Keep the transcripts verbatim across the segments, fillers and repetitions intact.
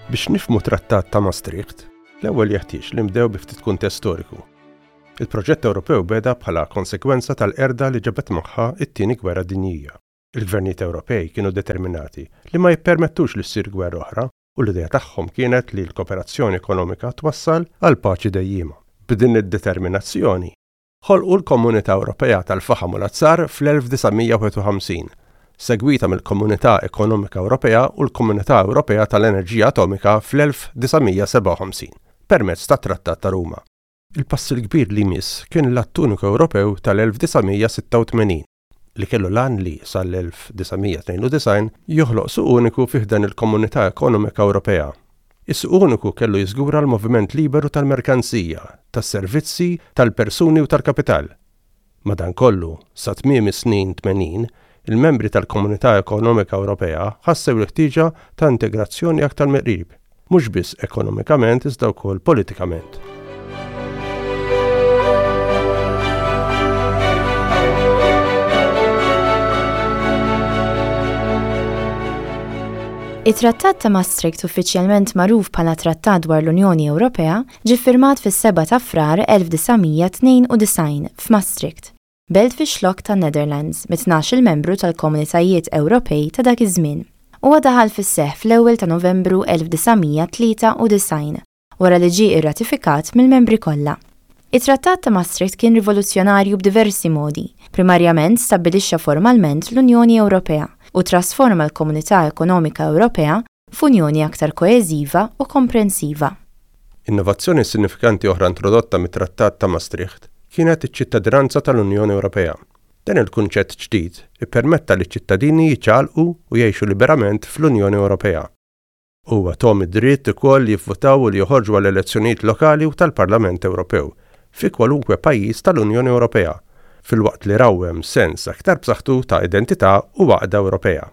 Biex nifhmu Trattat ta' Maastricht, l-ewwel jeħtieġ li nibdew bi ftit kuntest storiku. Il-proġett Ewropew beda bħala konsekwenza tal-qerda li ġabet magħha it-tieni gwerra dinjija. Il-gvernijiet Ewropej kienu determinati li ma jippermettux li ssir gwerra oħra u l-idea tagħhom kienet li l-kooperazzjoni ekonomika twassal għal paċi dejjima. B'din id-determinazzjoni, ħolqu l-Komunità Ewropea tal-Faħam u l-Azzar fl-elf disa' mija u wieħed u ħamsin, segwita mill-Komunità Ekonomika Ewropea u l-Komunità Ewropea tal-Enerġija Atomika fl-elf disa' mija u sebgħa u ħamsin permezz tat-Trattat ta' Ruma. Il-pass il-kbir li jmiss kien l-Att Uniku Ewropew tal-elf disa' mija u sitta u tmenin li kellu l-għan li sal-elf disa' mija u tnejn u disgħin joħloq suq uniku fi ħdan il-Komunità Ekonomika Ewropea. Is-suq uniku kellu jiżgura l-moviment liberu tal-merkanzija, tas-servizzi, tal-persuni u tal-kapital. Madankollu, sa tmiem is-snin tmenin, il-membri tal-Komunità Ekonomika Ewropea ħassew il-ħtieġa ta' integrazzjoni aktar mill-qrib, mhux biss ekonomikament iżda wkoll politikament. It-Trattat ta' Maastricht, uffiċjalment magħruf bħala Trattat dwar l-Unjoni Ewropea, ġie firmat fis-sebgħa ta' Frar elf disa' mija u tnejn u disgħin f'Maastricht, belt fix-Xlokk tan-Netherlands, mit-tnax-il membru tal-Komunitajiet Ewropej ta' dak iż-żmien. Huwa daħal fis-seħħ fl-ewwel ta' Novembru elf disa' mija u tlieta u disgħin wara li ġie irratifikat mill-membri kollha. It-Trattat ta' Maastricht kien rivoluzzjonarju b'diversi modi. Primarjament, stabbilixxa formalment l-Unjoni Ewropea u trasforma l-Komunità Ekonomika Ewropea f'unjoni aktar koeżiva u komprensiva. Innovazzjoni sinifikanti oħra introdotta mit-Trattat ta' Maastricht kienet iċ-ċittadinanza tal-Unjoni Ewropea. Dan il-kunċett ġdid ippermetta li ċittadini jiċċaqalqu u jgħixu liberament fl-Unjoni Ewropea. Huwa tahom id-dritt ukoll li jivvutaw u li joħorġu għal elezzjonijiet lokali u tal-Parlament Ewropew fi kwalunkwe pajjiż tal-Unjoni Ewropea, filwaqt li rawwem sens aktar b'saħħtu ta' identità u għaqda Ewropea.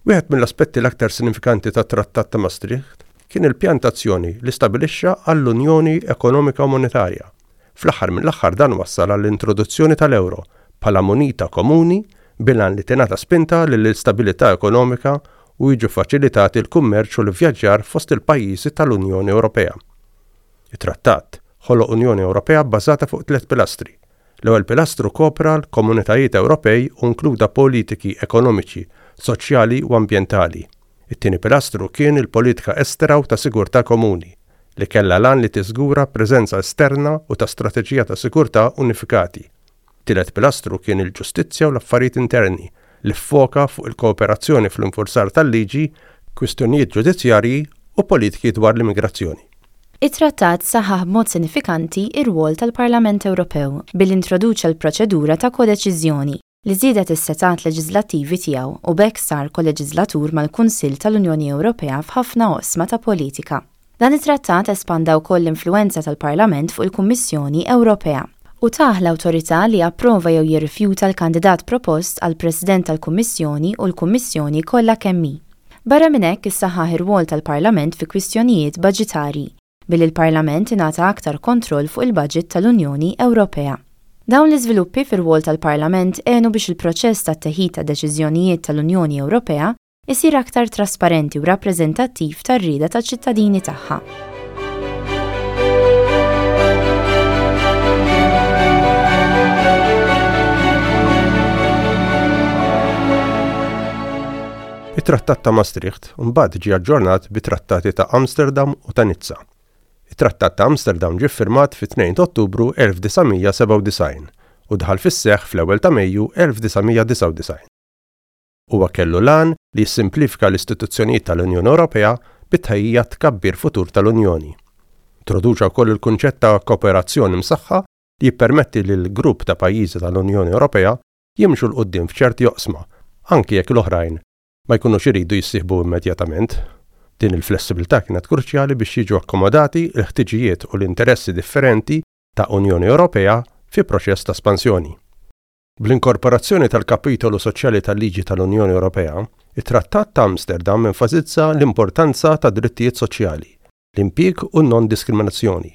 Wieħed mill-aspetti l-aktar sinifikanti tat-Trattat ta' Maastricht kien il-pjan t'azzjoni li stabilixxa għall-Unjoni Ekonomika u Monetarja. Fl-aħħar mill-aħħar, dan wassal għall-introduzzjoni tal-euro bħala munita komuni, bil-għan li tingħata spinta lill-istabilità ekonomika u jiġu faċilitati l-kummerċ u l-vjaġġar fost il-pajjiżi tal-Unjoni Ewropea. Il-trattat ħoloq Unjoni Ewropea bbażata fuq tliet pilastri. L-ewwel pilastru kopra l-komunitajiet Ewropej u inkluda politiki ekonomiċi, soċjali u ambjentali. It-tieni pilastru kien il-politika estera u ta' sigurtà komuni, li kellha l-għan li tiżgura preżenza esterna u ta' strateġija ta' sigurtà unifikati. Tielet pilastru kien il-ġustizzja u l-affarijiet interni, li ffoka fuq il-kooperazzjoni fl-infurzar tal-liġi, kwistjonijiet ġudizzjarji u politiki dwar l-immigrazzjoni. It-trattat saħħaħ b'mod sinifikanti ir-rwol tal-Parlament Ewropew billi introduċa l-proċedura ta' kodeċiżjoni li żiedet is-setgħat leġislattivi tiegħu, u b'hekk sar koleġislatur mal-Kunsill tal-Unjoni Ewropea f'ħafna oqsma ta' politika. Dan it-trattat espanda wkoll l-influenza tal-Parlament fuq il-Kummissjoni Ewropea u tah l-awtorità li approva jew jirrifjuta l-kandidat propost għal President tal-Kummissjoni u l-Kummissjoni kollha kemm hi. Barra minn hekk, issaħħaħ ir-rwol tal-Parlament fi kwistjonijiet baġitarji billi l-Parlament ingħata aktar kontroll fuq il-budget tal-Unjoni Ewropea. Dawn l-iżviluppi fir-rwol tal-Parlament għenu biex il-proċess ta' teħid ta' deċiżjonijiet tal-Unjoni Ewropea isir aktar trasparenti u rappreżentattiv tar-rieda taċ-ċittadini tagħha. It-Trattat ta' Maastricht mbagħad ġie aġġornat bi trattati ta' Amsterdam u ta' Nizza. It-Trattat ta' Amsterdam ġie ffirmat fit-tnejn ta' Ottubru elf disa' mija u sebgħa u disgħin u daħal fis-seħħ fl-ewwel ta' Mejju elf disa' mija u disgħa u disgħin. Huwa kellu l-għan li jissimplifika l-istituzzjonijiet tal-Unjoni Ewropea bit-tħejjija tkabbir futur tal-Unjoni. Introduċa wkoll il-kunċett ta' kooperazzjoni msaħħa li jippermetti lil grupp ta' pajjiżi tal-Unjoni Ewropea jimxu 'l quddiem f'ċerti oqsma, anki jekk l-oħrajn ma jkunux iridu jissieħbu immedjatament. Din il-flessibilità kienet kruċjali biex jiġu akkomodati l-ħtiġijiet u l-interessi differenti ta' Unjoni Ewropea fi proċess ta' espansjoni. Bl-inkorporazzjoni tal-kapitolu soċjali tal-liġi tal-Unjoni Ewropea, it-Trattat ta' Amsterdam enfasizza l-importanza ta' drittijiet soċjali, l-impjieg u non-diskriminazzjoni.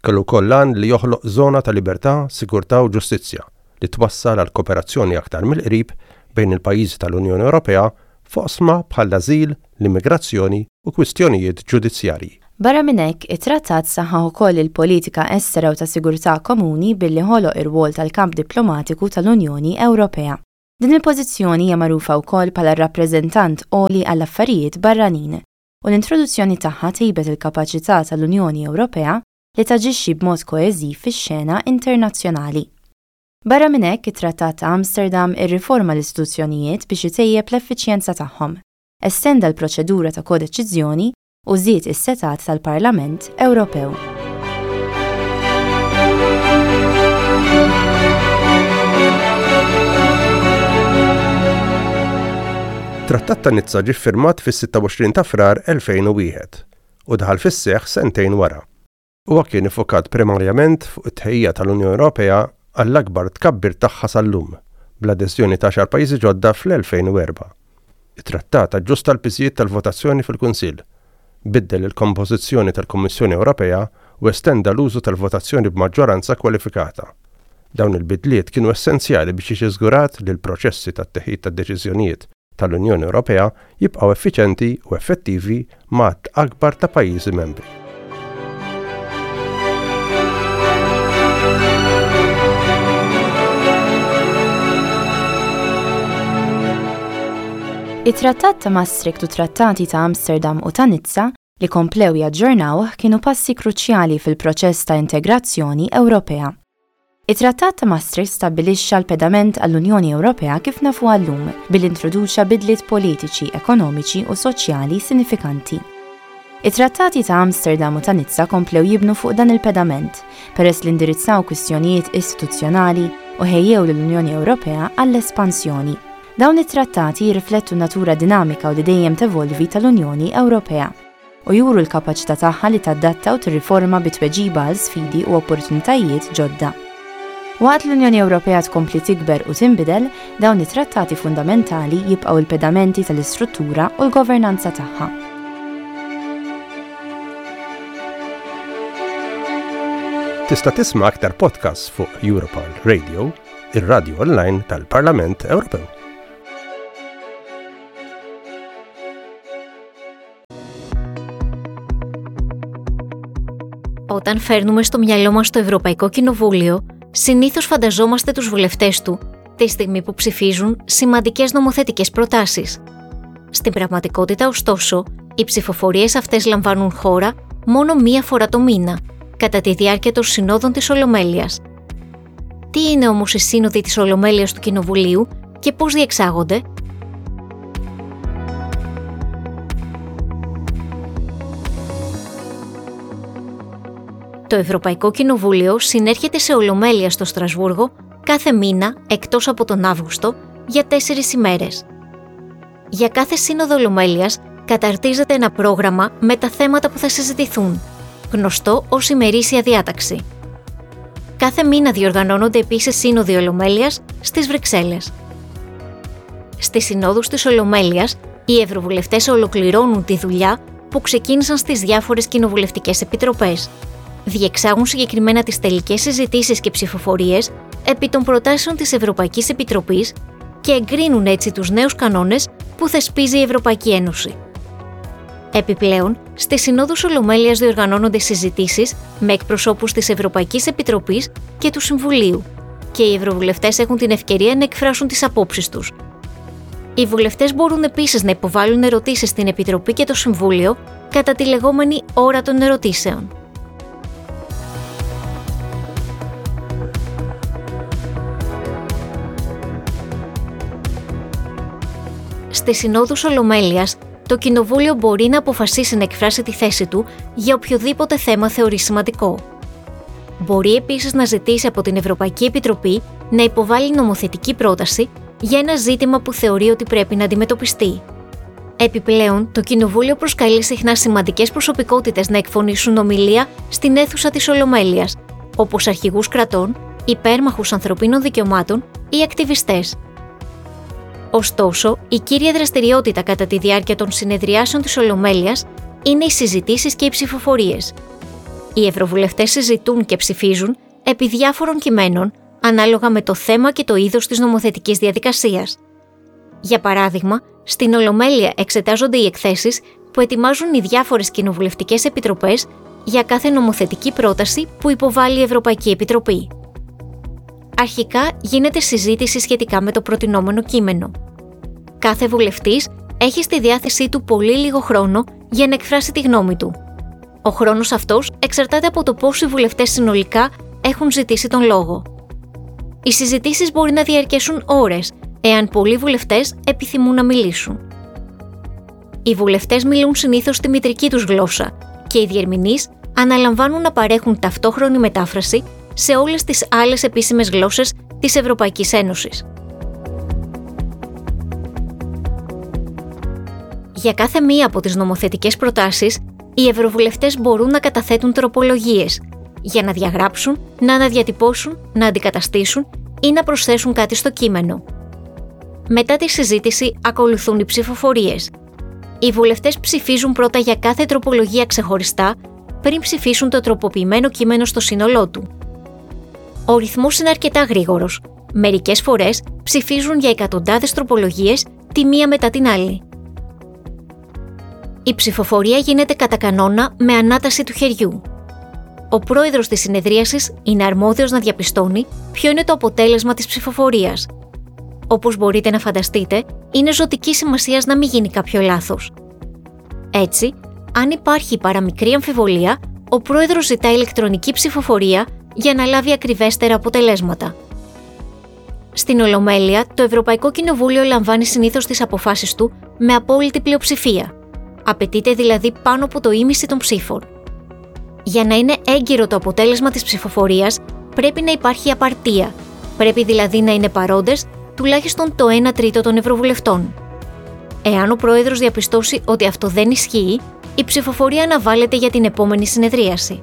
Kellu wkoll l-għan li joħloq żona ta' libertà, sigurtà u ġustizzja li twassal għal kooperazzjoni aktar mill-qrib bejn il-pajjiżi tal-Unjoni Ewropea f'oqsma bħall-ażil, l-immigrazzjoni u kwistjonijiet ġudizzjarji. Barra minn hekk, it-trattat saħħaħ ukoll il-politika estera u ta' sigurtà komuni billi ħoloq ir-rwol tal-kamp diplomatiku tal-Unjoni Ewropea. Din il-pożizzjoni hija magħrufa wkoll bħala rappreżentant għoli għall-affarijiet barranin u l-introduzzjoni tagħha tejbet il-kapaċità tal-Unjoni Ewropea li taġixxi b'mod koeżiv fix-xena internazzjonali. Barra minn hekk, it-Trattat ta' Amsterdam irriforma l-istituzzjonijiet biex itejjeb l-effiċjenza tagħhom, estenda l-proċedura ta' kodeċiżjoni u żied is-setgħat tal-Parlament Ewropew. Trattat ta' Nizza ġie ffirmat fis-sitta u għoxrin ta' Frar elfejn u wieħed u daħal fis-seħħ sentejn wara. Huwa kien iffokat primarjament fuq it-tħejjija tal-Unjoni Ewropea għall-akbar tkabbir tagħha sal-lum, bl-adeżjoni ta' għaxar pajjiżi ġodda fl-elfejn u erba'. It-trattat aġġusta l-piżijiet tal-votazzjoni fil-Kunsill, biddel il-kompożizzjoni tal-Kummissjoni Ewropea u estenda l-użu tal-votazzjoni b'maġġoranza kwalifikata. Dawn il-bidliet kienu essenzjali biex jiġi żgurat li l-proċessi tat-teħid tad-deċiżjonijiet tal-Unjoni Ewropea jibqgħu effiċjenti u effettivi ma' għadd akbar ta' pajjiżi membri. It-Trattat ta' Maastricht u Trattati ta' Amsterdam u ta' Nizza li komplew jaġġornawh kienu passi kruċjali fil-proċess ta' integrazzjoni Ewropea. It-Trattat ta' Maastricht stabbilixxa l-pedament għall-Unjoni Ewropea kif nafuha llum billi introduċa bidliet politiċi, ekonomiċi u soċjali sinifikanti. It-Trattati ta' Amsterdam u ta' Nizza komplew jibnu fuq dan il-pedament peress li indirizzaw kwistjonijiet istituzzjonali u ħejjew lill-Unjoni Ewropea għall-espansjoni. Dawn it-trattati jirriflettu natura dinamika u li dejjem tevolvi tal-Unjoni Ewropea u juru l-kapaċità tagħha li tadatta u tirriforma bi tweġiba għal sfidi u opportunitajiet ġodda. Waqt l-Unjoni Ewropea tkompli tikber u tinbidel, dawn it-trattati fundamentali jibqgħu l-pedamenti tal-istruttura u l-governanza tagħha. Tista' tisma' aktar podcasts fuq Europarl Radio, ir-radio online tal-Parlament Ewropew. Όταν φέρνουμε στο μυαλό μας το Ευρωπαϊκό Κοινοβούλιο, συνήθως φανταζόμαστε τους βουλευτές του τη στιγμή που ψηφίζουν σημαντικές νομοθετικές προτάσεις. Στην πραγματικότητα, ωστόσο, οι ψηφοφορίες αυτές λαμβάνουν χώρα μόνο μία φορά το μήνα, κατά τη διάρκεια των συνόδων της Ολομέλειας. Τι είναι όμως οι σύνοδοι της Ολομέλειας του Κοινοβουλίου και πώς διεξάγονται? Το Ευρωπαϊκό Κοινοβούλιο συνέρχεται σε Ολομέλεια στο Στρασβούργο κάθε μήνα εκτός από τον Αύγουστο για τέσσερις ημέρες. Για κάθε σύνοδο Ολομέλειας καταρτίζεται ένα πρόγραμμα με τα θέματα που θα συζητηθούν, γνωστό ως ημερήσια διάταξη. Κάθε μήνα διοργανώνονται επίσης σύνοδοι Ολομέλειας στις Βρυξέλλες. Στις συνόδους της Ολομέλειας, οι ευρωβουλευτές ολοκληρώνουν τη δουλειά που ξεκίνησαν στις διάφορες κοινοβουλευτικές επιτροπές. Διεξάγουν συγκεκριμένα τις τελικές συζητήσεις και ψηφοφορίες επί των προτάσεων της Ευρωπαϊκής Επιτροπής και εγκρίνουν έτσι τους νέους κανόνες που θεσπίζει η Ευρωπαϊκή Ένωση. Επιπλέον, στις συνόδους Ολομέλειας διοργανώνονται συζητήσεις με εκπροσώπους της Ευρωπαϊκής Επιτροπής και του Συμβουλίου και οι ευρωβουλευτές έχουν την ευκαιρία να εκφράσουν τις απόψεις τους. Οι βουλευτές μπορούν επίσης να υποβάλουν ερωτήσεις στην Επιτροπή και το Συμβούλιο κατά τη λεγόμενη ώρα των ερωτήσεων. Στις συνόδους Ολομέλειας, το Κοινοβούλιο μπορεί να αποφασίσει να εκφράσει τη θέση του για οποιοδήποτε θέμα θεωρεί σημαντικό. Μπορεί επίσης να ζητήσει από την Ευρωπαϊκή Επιτροπή να υποβάλει νομοθετική πρόταση για ένα ζήτημα που θεωρεί ότι πρέπει να αντιμετωπιστεί. Επιπλέον, το Κοινοβούλιο προσκαλεί συχνά σημαντικές προσωπικότητες να εκφωνήσουν ομιλία στην αίθουσα της Ολομέλειας, όπως αρχηγούς κρατών, υπέρμαχους ανθρωπίνων δικαιωμάτων ή ακτιβιστές. Ωστόσο, η κύρια δραστηριότητα κατά τη διάρκεια των συνεδριάσεων της Ολομέλειας είναι οι συζητήσεις και οι ψηφοφορίες. Οι ευρωβουλευτές συζητούν και ψηφίζουν επί διάφορων κειμένων, ανάλογα με το θέμα και το είδος της νομοθετικής διαδικασίας. Για παράδειγμα, στην Ολομέλεια εξετάζονται οι εκθέσεις που ετοιμάζουν οι διάφορες κοινοβουλευτικές επιτροπές για κάθε νομοθετική πρόταση που υποβάλλει η Ευρωπαϊκή Επιτροπή. Αρχικά γίνεται συζήτηση σχετικά με το προτεινόμενο κείμενο. Κάθε βουλευτής έχει στη διάθεσή του πολύ λίγο χρόνο για να εκφράσει τη γνώμη του. Ο χρόνος αυτός εξαρτάται από το πόσοι βουλευτές συνολικά έχουν ζητήσει τον λόγο. Οι συζητήσεις μπορεί να διαρκέσουν ώρες, εάν πολλοί βουλευτές επιθυμούν να μιλήσουν. Οι βουλευτές μιλούν συνήθως τη μητρική τους γλώσσα και οι διερμηνείς αναλαμβάνουν να παρέχουν ταυτόχρονη μετάφραση σε όλες τις άλλες επίσημες γλώσσες της Ευρωπαϊκής Ένωσης. Για κάθε μία από τις νομοθετικές προτάσεις, οι ευρωβουλευτές μπορούν να καταθέτουν τροπολογίες για να διαγράψουν, να αναδιατυπώσουν, να αντικαταστήσουν ή να προσθέσουν κάτι στο κείμενο. Μετά τη συζήτηση ακολουθούν οι ψηφοφορίες. Οι βουλευτές ψηφίζουν πρώτα για κάθε τροπολογία ξεχωριστά, πριν ψηφίσουν το τροποποιημένο κείμενο στο σύνολό του. Ο ρυθμός είναι αρκετά γρήγορος. Μερικές φορές ψηφίζουν για εκατοντάδες τροπολογίες τη μία μετά την άλλη. Η ψηφοφορία γίνεται κατά κανόνα με ανάταση του χεριού. Ο πρόεδρος της συνεδρίασης είναι αρμόδιος να διαπιστώνει ποιο είναι το αποτέλεσμα της ψηφοφορίας. Όπως μπορείτε να φανταστείτε, είναι ζωτικής σημασίας να μην γίνει κάποιο λάθος. Έτσι, αν υπάρχει παραμικρή αμφιβολία, ο πρόεδρος ζητά ηλεκτρονική ψηφοφορία για να λάβει ακριβέστερα αποτελέσματα. Στην Ολομέλεια, το Ευρωπαϊκό Κοινοβούλιο λαμβάνει συνήθως τις αποφάσεις του με απόλυτη πλειοψηφία. Απαιτείται δηλαδή πάνω από το ίμιση των ψήφων. Για να είναι έγκυρο το αποτέλεσμα της ψηφοφορίας, πρέπει να υπάρχει απαρτία. Πρέπει δηλαδή να είναι παρόντες τουλάχιστον το ένα τρίτο των ευρωβουλευτών. Εάν ο πρόεδρος διαπιστώσει ότι αυτό δεν ισχύει, η ψηφοφορία αναβάλλεται για την επόμενη συνεδρίαση.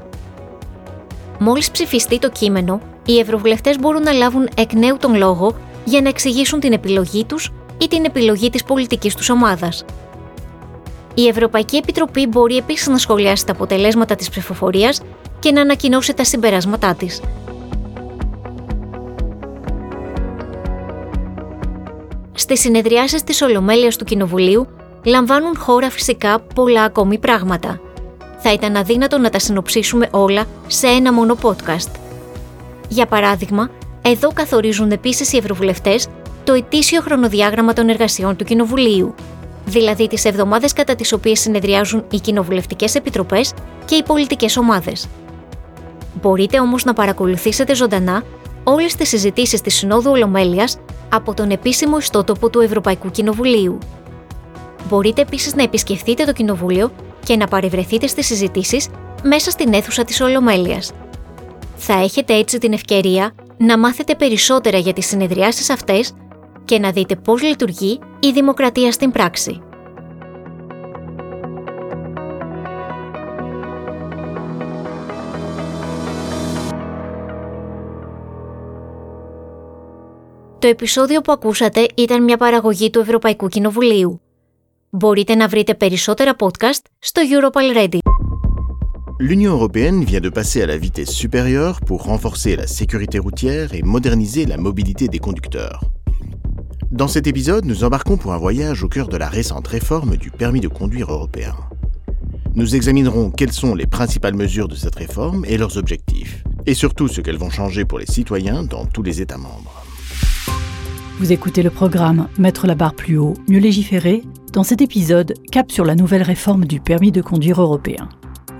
Μόλις ψηφιστεί το κείμενο, οι ευρωβουλευτές μπορούν να λάβουν εκ νέου τον λόγο για να εξηγήσουν την επιλογή τους ή την επιλογή της πολιτικής τους ομάδας. Η Ευρωπαϊκή Επιτροπή μπορεί επίσης να σχολιάσει τα αποτελέσματα της ψηφοφορίας και να ανακοινώσει τα συμπεράσματά της. Στις συνεδριάσεις της Ολομέλειας του Κοινοβουλίου λαμβάνουν χώρα φυσικά πολλά ακόμη πράγματα. Θα ήταν αδύνατο να τα συνοψίσουμε όλα σε ένα μόνο podcast. Για παράδειγμα, εδώ καθορίζουν επίσης οι ευρωβουλευτές το ετήσιο χρονοδιάγραμμα των εργασιών του Κοινοβουλίου, δηλαδή τις εβδομάδες κατά τις οποίες συνεδριάζουν οι κοινοβουλευτικές επιτροπές και οι πολιτικές ομάδες. Μπορείτε όμως να παρακολουθήσετε ζωντανά όλες τις συζητήσεις της Συνόδου Ολομέλειας από τον επίσημο ιστότοπο του Ευρωπαϊκού Κοινοβουλίου. Μπορείτε επίσης να επισκεφτείτε το Κοινοβούλιο και να παρευρεθείτε στις συζητήσεις μέσα στην αίθουσα της Ολομέλειας. Θα έχετε έτσι την ευκαιρία να μάθετε περισσότερα για τις συνεδριάσεις αυτές και να δείτε πώς λειτουργεί η δημοκρατία στην πράξη. Το επεισόδιο που ακούσατε ήταν μια παραγωγή του Ευρωπαϊκού Κοινοβουλίου. Μπορείτε να βρείτε περισσότερα podcast στο Europa Ready. L'Union européenne vient de passer à la vitesse supérieure pour renforcer la sécurité routière et moderniser la mobilité des conducteurs. Dans cet épisode, nous embarquons pour un voyage au cœur de la récente réforme du permis de conduire européen. Nous examinerons quelles sont les principales mesures de cette réforme et leurs objectifs, et surtout ce qu'elles vont changer pour les citoyens dans tous les États membres. Vous écoutez le programme Mettre la barre plus haut, mieux légiférer. Dans cet épisode, cap sur la nouvelle réforme du permis de conduire européen.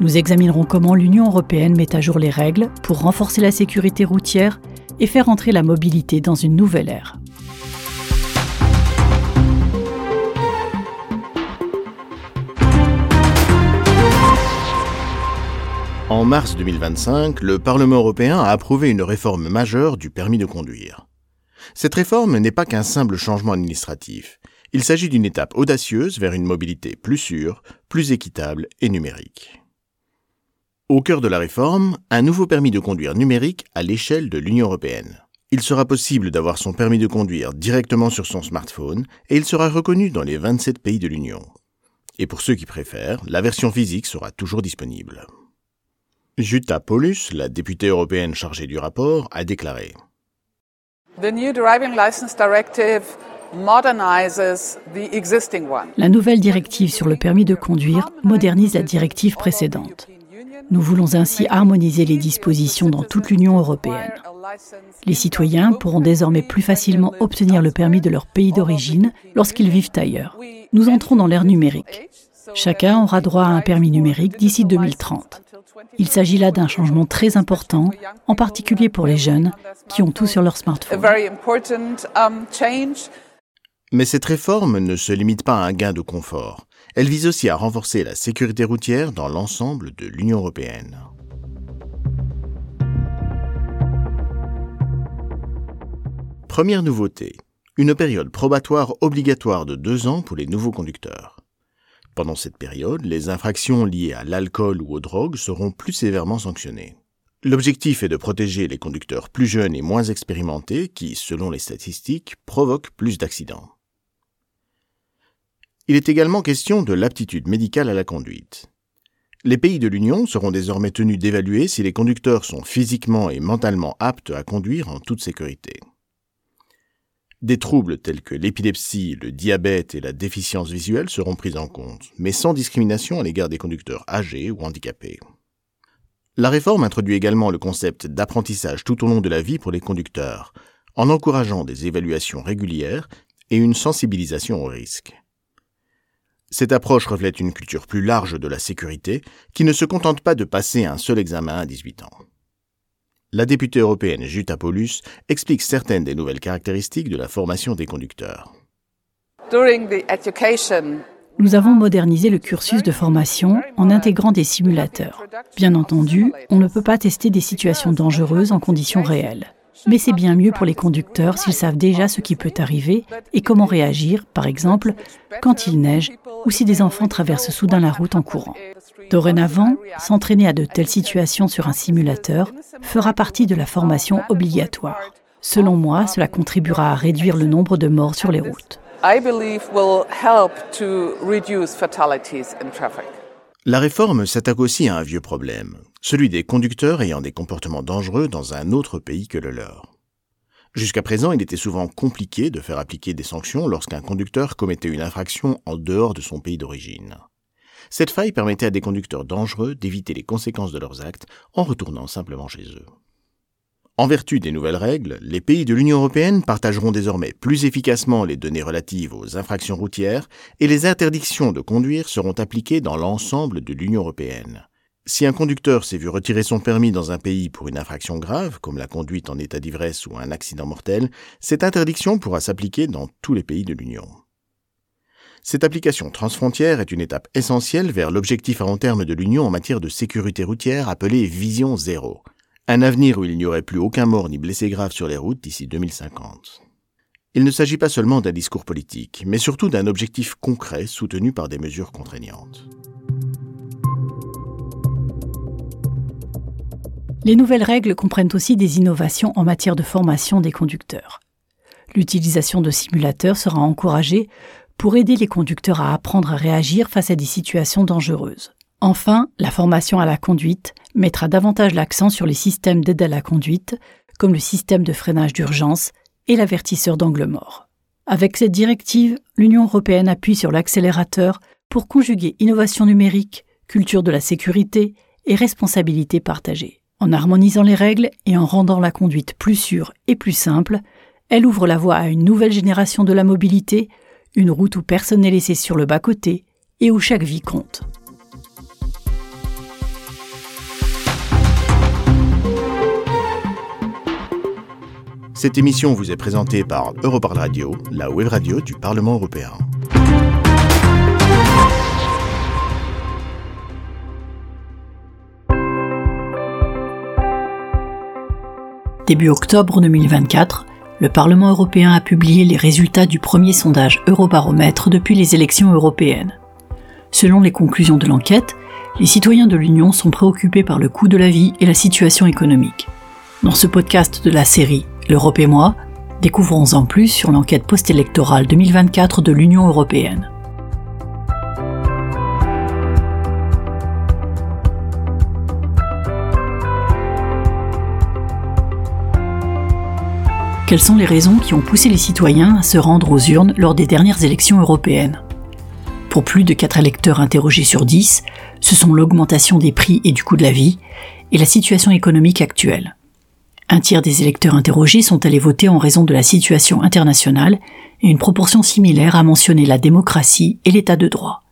Nous examinerons comment l'Union européenne met à jour les règles pour renforcer la sécurité routière et faire entrer la mobilité dans une nouvelle ère. En mars deux mille vingt-cinq, le Parlement européen a approuvé une réforme majeure du permis de conduire. Cette réforme n'est pas qu'un simple changement administratif. Il s'agit d'une étape audacieuse vers une mobilité plus sûre, plus équitable et numérique. Au cœur de la réforme, un nouveau permis de conduire numérique à l'échelle de l'Union européenne. Il sera possible d'avoir son permis de conduire directement sur son smartphone et il sera reconnu dans les vingt-sept pays de l'Union. Et pour ceux qui préfèrent, la version physique sera toujours disponible. Jutta Paulus, la députée européenne chargée du rapport, a déclaré: The new Driving License Directive modernizes the existing one. La nouvelle directive sur le permis de conduire modernise la directive précédente. Nous voulons ainsi harmoniser les dispositions dans toute l'Union européenne. Les citoyens pourront désormais plus facilement obtenir le permis de leur pays d'origine lorsqu'ils vivent ailleurs. Nous entrons dans l'ère numérique. Chacun aura droit à un permis numérique d'ici deux mille trente. Il s'agit là d'un changement très important, en particulier pour les jeunes qui ont tout sur leur smartphone. A very important, um, change. Mais cette réforme ne se limite pas à un gain de confort. Elle vise aussi à renforcer la sécurité routière dans l'ensemble de l'Union européenne. Première nouveauté, une période probatoire obligatoire de deux ans pour les nouveaux conducteurs. Pendant cette période, les infractions liées à l'alcool ou aux drogues seront plus sévèrement sanctionnées. L'objectif est de protéger les conducteurs plus jeunes et moins expérimentés qui, selon les statistiques, provoquent plus d'accidents. Il est également question de l'aptitude médicale à la conduite. Les pays de l'Union seront désormais tenus d'évaluer si les conducteurs sont physiquement et mentalement aptes à conduire en toute sécurité. Des troubles tels que l'épilepsie, le diabète et la déficience visuelle seront pris en compte, mais sans discrimination à l'égard des conducteurs âgés ou handicapés. La réforme introduit également le concept d'apprentissage tout au long de la vie pour les conducteurs, en encourageant des évaluations régulières et une sensibilisation aux risques. Cette approche reflète une culture plus large de la sécurité qui ne se contente pas de passer un seul examen à dix-huit ans. La députée européenne Jutta Paulus explique certaines des nouvelles caractéristiques de la formation des conducteurs. During the education, Nous avons modernisé le cursus de formation en intégrant des simulateurs. Bien entendu, on ne peut pas tester des situations dangereuses en conditions réelles. Mais c'est bien mieux pour les conducteurs s'ils savent déjà ce qui peut arriver et comment réagir, par exemple, quand il neige ou si des enfants traversent soudain la route en courant. Dorénavant, s'entraîner à de telles situations sur un simulateur fera partie de la formation obligatoire. Selon moi, cela contribuera à réduire le nombre de morts sur les routes. I believe will help to reduce fatalities in traffic. La réforme s'attaque aussi à un vieux problème, celui des conducteurs ayant des comportements dangereux dans un autre pays que le leur. Jusqu'à présent, il était souvent compliqué de faire appliquer des sanctions lorsqu'un conducteur commettait une infraction en dehors de son pays d'origine. Cette faille permettait à des conducteurs dangereux d'éviter les conséquences de leurs actes en retournant simplement chez eux. En vertu des nouvelles règles, les pays de l'Union européenne partageront désormais plus efficacement les données relatives aux infractions routières et les interdictions de conduire seront appliquées dans l'ensemble de l'Union européenne. Si un conducteur s'est vu retirer son permis dans un pays pour une infraction grave, comme la conduite en état d'ivresse ou un accident mortel, cette interdiction pourra s'appliquer dans tous les pays de l'Union. Cette application transfrontière est une étape essentielle vers l'objectif à long terme de l'Union en matière de sécurité routière appelé Vision Zéro. Un avenir où il n'y aurait plus aucun mort ni blessé grave sur les routes d'ici deux mille cinquante. Il ne s'agit pas seulement d'un discours politique, mais surtout d'un objectif concret soutenu par des mesures contraignantes. Les nouvelles règles comprennent aussi des innovations en matière de formation des conducteurs. L'utilisation de simulateurs sera encouragée pour aider les conducteurs à apprendre à réagir face à des situations dangereuses. Enfin, la formation à la conduite mettra davantage l'accent sur les systèmes d'aide à la conduite, comme le système de freinage d'urgence et l'avertisseur d'angle mort. Avec cette directive, l'Union européenne appuie sur l'accélérateur pour conjuguer innovation numérique, culture de la sécurité et responsabilité partagée. En harmonisant les règles et en rendant la conduite plus sûre et plus simple, elle ouvre la voie à une nouvelle génération de la mobilité, une route où personne n'est laissé sur le bas-côté et où chaque vie compte. Cette émission vous est présentée par Europarl Radio, la web radio du Parlement européen. Début octobre deux mille vingt-quatre, le Parlement européen a publié les résultats du premier sondage Eurobaromètre depuis les élections européennes. Selon les conclusions de l'enquête, les citoyens de l'Union sont préoccupés par le coût de la vie et la situation économique. Dans ce podcast de la série L'Europe et moi, découvrons en plus sur l'enquête post-électorale deux mille vingt-quatre de l'Union européenne. Quelles sont les raisons qui ont poussé les citoyens à se rendre aux urnes lors des dernières élections européennes? Pour plus de quatre électeurs interrogés sur dix, ce sont l'augmentation des prix et du coût de la vie et la situation économique actuelle. Un tiers des électeurs interrogés sont allés voter en raison de la situation internationale et une proportion similaire a mentionné la démocratie et l'état de droit.